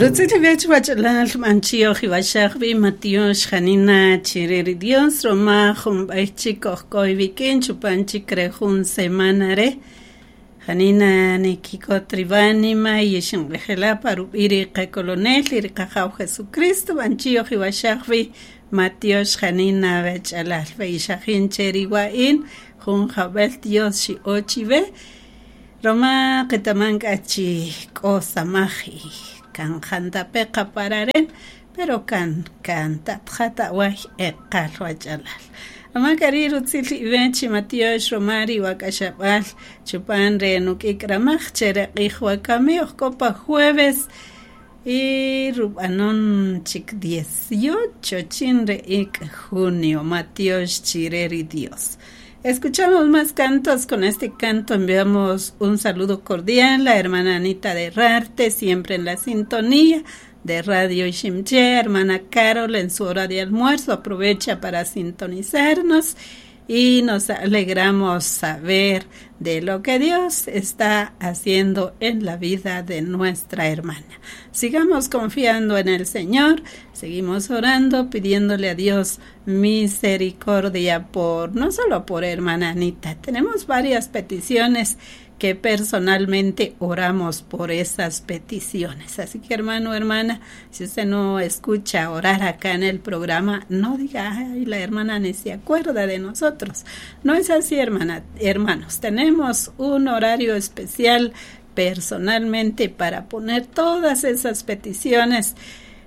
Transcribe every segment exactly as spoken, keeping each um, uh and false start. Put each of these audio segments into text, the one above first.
Rutzil wech wach'alal manchio jiwashaj Matiox janina chire Dios roma jun b'ay chik ojk'oy wikin chupan chik re jun semana re janina nikikot riwanima yixinq'ejela pa rub'i' ri qakolonel y ri qajaw Jesucristo manchio jiwashaj Matiox janina wech'alal ixajin che riwa'in jun jab'el Dios xi'o chiwe roma qetaman k'a chi k'o samaj kan jantape qapararen pero kan kan tatjata awaj eqal wach'alal roma k'ari rutzil iwech Matiox roma ri wak'axab'al chupan re nuk'ik ramaj che re q'ij wakami ojk'o pa jueves y rub'anon chik dieciocho chin re ik' junio Matiox chire ri Dios. Escuchamos más cantos. Con este canto enviamos un saludo cordial a la hermana Anita de Rarte, siempre en la sintonía de Radio Iximché. Hermana Carol en su hora de almuerzo aprovecha para sintonizarnos y nos alegramos saber de lo que Dios está haciendo en la vida de nuestra hermana. Sigamos confiando en el Señor, seguimos orando, pidiéndole a Dios misericordia por, no solo por hermana Anita, tenemos varias peticiones que personalmente oramos por esas peticiones. Así que, hermano, hermana, si usted no escucha orar acá en el programa, no diga: "Ay, la hermana ni se acuerda de nosotros". No es así, hermana, hermanos. Tenemos un horario especial personalmente para poner todas esas peticiones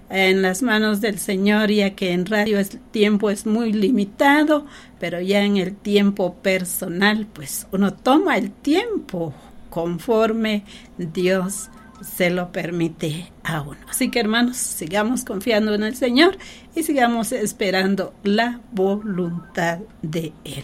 en las manos del Señor, ya que en radio el tiempo es muy limitado, pero ya en el tiempo personal, pues uno toma el tiempo conforme Dios se lo permite a uno. Así que, hermanos, sigamos confiando en el Señor y sigamos esperando la voluntad de Él.